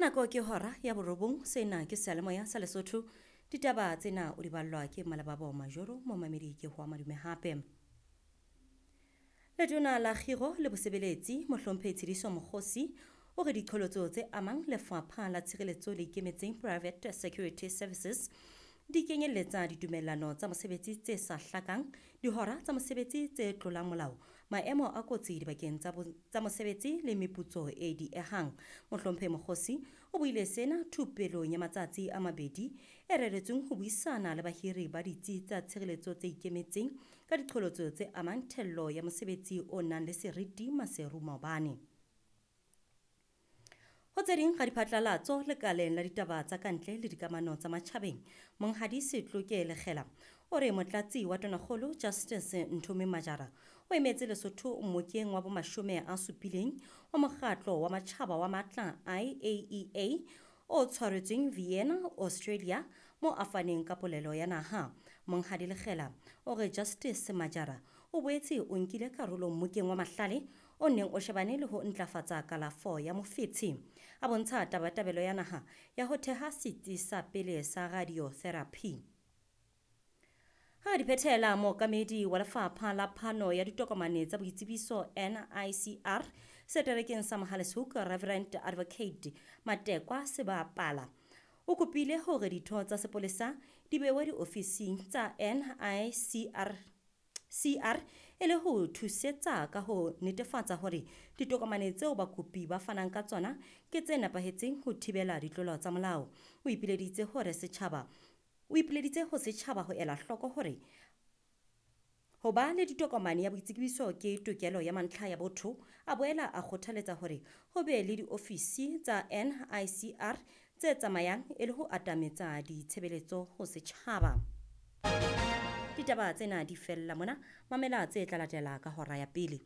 Nako ke hora ya borobong, sena ke seyalemoya sa Lesotho. Ditaba tsena o di ballwa ke Malebabo Majoro, momamedi ke hoa madume hape. Letona la Kgiro le Bosebeletsi, Mohlomphehi Tshidiso Mokgosi, o re diqholotso tse amang lefapha la tshireletso le ikemetseng Private Security Services di kenyelletsa ditumellano tsa mosebetsi tse sa hlakang, dihora tsa mosebetsi tse tlolang molao, maemo a kotsi dibakeng tsa mosebetsi le meputso e diehang. Mohlomphehi Mokgosi o buile sena thupelong ya matsatsi a mabedi e reretsweng ho buisana le bahiri ba ditsi tsa tshireletso tse ikemetseng ka diqholotso tse amang thello ya mosebetsi o nang le seriti Maseru maobane. Ho tse ding ga diphatlalatso lekaleng la ditaba tsa kantle le dikamano tsa matjhabeng, Monghadi Setloke Lekgela o re motlatsi wa tonakgolo Justice Nthomi Majara o emetse Lesotho mmokeng wa bomashome a supileng wa mokgatlo wa matjhaba wa matla IAEA o tshwaretsweng Vienna, Australia, mo a faneng ka polelo ya naha. Monghadi Lekgela o re Justice Majara o boetse o nkile karolo mmokeng wa mahlale o neng o shebane le ho ntlafatsa kalafo ya mofetshe. A bontsha tabatabelo ya naha ya ho theha setsi sa pele sa radiotherapy. Ha di phethela, mookamedi wa lefapha la phano ya ditokomane tsa boitsebiso NICR seterekeng sa Mohale's Hoek, Reverend Advocate Matekwa Sebapala, o kopile hore ditho tsa sepolesa di bewe diofising tsa NICR CR e le ho thusetsa ka ho netefatsa hore ditokomane tseo bakopi ba fanang ka tsona ke tse nepahetseng ho thibela ditlolo tsa molao. O ipileditse hore setjhaba o ipileditse ho setjhaba ho ela hloko hore ho ba le ditokomane ya boitsebiso ke tokelo ya mantlha ya botho. A boela a kgothaletsa hore ho be le diofisi tsa NICR tse tsamayang e le ho atametsa ditshebeletso ho setjhaba. Ditaba tsena di fella mona, mamela tse tla latela ka hora ya pele.